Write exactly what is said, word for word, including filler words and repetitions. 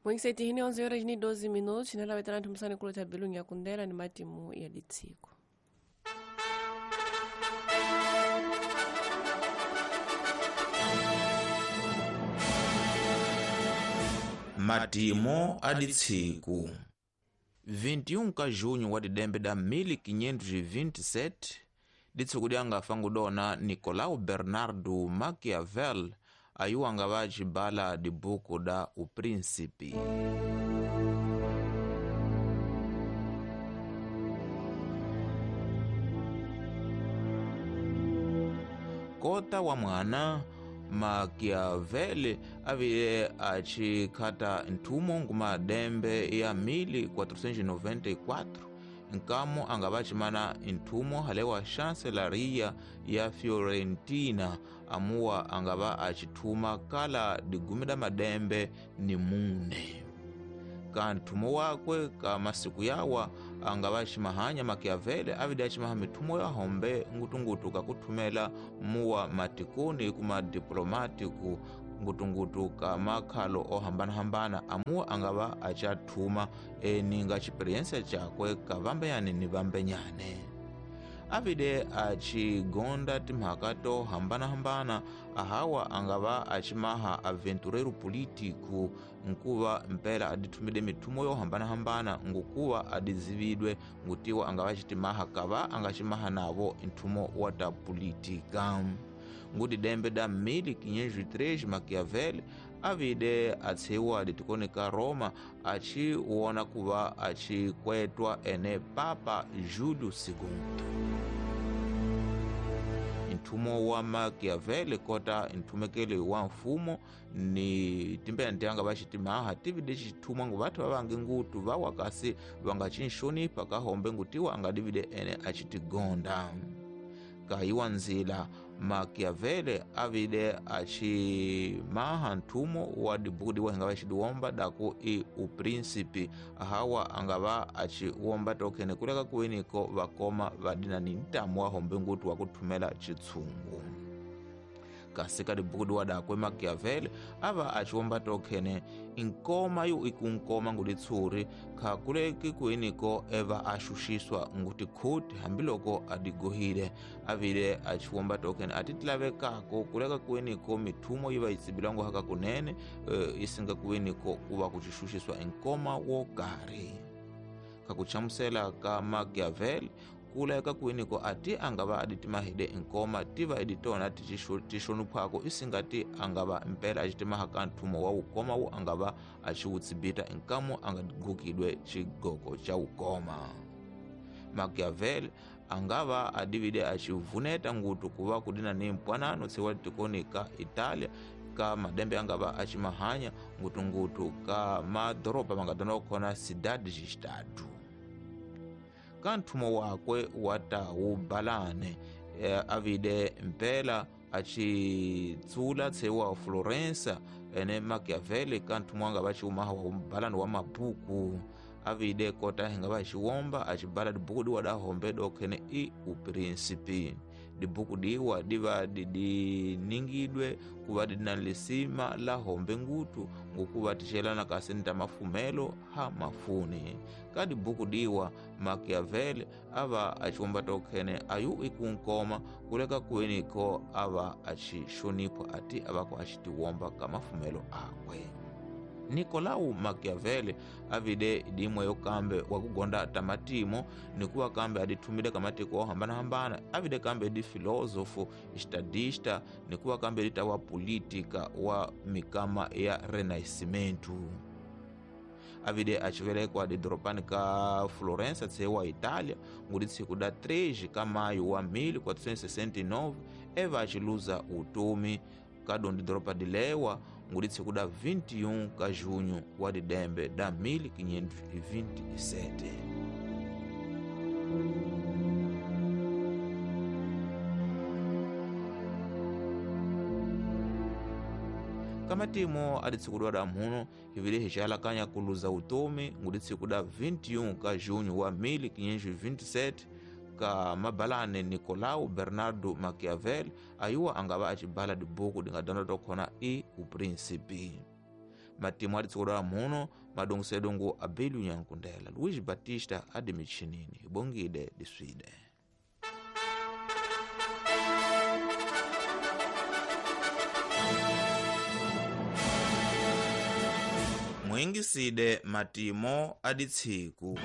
Mwengisetihini onze horas ni doze minutos, nalawetanatu msani kulota bilungi ya kundela ni matimu ya ditsiko. Matimo aditsiku vinte e um ka junho wa didembe da mil quinhentos e vinte e sete ditsiku dyanga fangudona Nicolau Bernardo Maquiavel ayuwanga vacibala dibuku da O Príncipe. Kota wa mwana Maquiavel avile acikhata nthumo ngumadembe ya mil quatrocentos e noventa e quatro nkamo anga vacimana nthumo halewa chancelaria ya Fiorentina amuwa angava acithuma kala digumi da madembe ni mune. Ka nthumo wakwe ka masiku yawa anga vacimahanya Maquiavel avide acimaha mithumo ya hombe ngutungutu kakuthumela muwa matikoni kuma diplomático ngutungutu ka makhalo ohambana-hambana amuwa angava acathuma eninga xiperiência cakwe ka vambenyane ni vambenyane. Avide acigonda timhaka to hambana-hambana ahawa angava acimaha aventureiro político nkuva mpela adithumide mithumo yo hambana-hambana ngukuva adizividwe ngutiwa angava acitimaha kava angacimaha navo nthumo wa ta política. Ngudidembe da mil quinhentos e três Maquiavel avide atshiwa ditikoni ka Roma aciwona kuva acikwetwa ene Papa Júlio segundo. Nthumo wa Maquiavel kota nthumekeli wa mfumo ni timbena ntianga vacitimaha tivide cithuma ngu vathu vavangi ngutu vawa kasi vangacinxonipha kahombe ngutiwa angadivide ene acitigonda. Kayiwa nzila Maquiavel avide acimaha nthumo wa dibuku diwa hingava cidiwomba daku i O Príncipe ahawa angava aciwomba tokhene kuleka kuwiniko vakoma vadina ni ntamu wa hombe ngutu wa kuthumela citshungu. Kasi ka dibuku diwa dakwe Maquiavel ava aciwomba tokhene inkoma yu ikunkoma nguditshuri khakuleki kuwiniko eva axuxiswa ngutikhuti hambiloko adigohile avile aciwomba tokhene atitilavekako kuleka kuwiniko mithumo yiva yitsibilango haka kunene e, isinga kuwiniko kuva kucixuxiswa inkoma wo karhi. Kakuchamusela ka Maquiavel kuleka kuwiniko ati angava aditimahide inkoma tiva editona tixonuphwako isingati angava mpela acitimaha ka nthumo wa wukoma wu angava aciwutsibita inkamo angadigukidwe cigoko ca wukoma. Maquiavel angava adivide acivuneta ngutu kuva kudina ni mpwanano tsiwa tikoni ka Italia ka madembe angava acimahanya ngutungutu ka madoropa mangadona khona cidade de estado. Ka nthumo wakwe wa ta wubalane e, avide mpela acitsula tsewa Florença ene Maquiavel ka nthumo anga vaciumaha wa ubalane wa mabuku avide kota hinga vaciwomba acibala dibuku diwa da hombe dokhene i O Príncipe. Dibuku diwa diva didiningidwe kuva didina lisima la hombe ngutu ngukuva tixelana kasi nta mafumelo ha mafuni. Ka dibuku diwa Maquiavel ava aciwomba tokhene ayu ikunkoma kuleka kuwiniko ava acixonipha ati avako acitiwomba ka mafumelo akwe. Nicolau Maquiavel avide dimwe yokambe wakugonda tamatimo nikuwa kambe adithumile kamatiko ohambana-hambana avide kambe di filósofo estadista nikuwa kambe dita wa política wa mikama ya Renascimento. Avide acivelekwa didoropani ka Florença tsewa Itália nguditsiku da três ka maio wa mil quatrocentos e sessenta e nove eva aciluza utomi kadondi doropa dilewa nguditsiku da vinte e um ka junho wa didembe da mil quinhentos e vinte e sete. Kamatimo aditsikudwa da mhuno hivile hixalakanya kuluza utomi nguditsiku da vinte e um ka junho wa mil quinhentos e vinte e sete ka mabalane Nicolau Bernardo Maquiavel ayuwa angava acibala dibuku dingadona tokhona i O Príncipe. matimu aditsikodola muno madongosedongo a Belu Nyankundela. Luiz Batista adi michinini ibongide diswide. Mwingiside matimo aditsiku.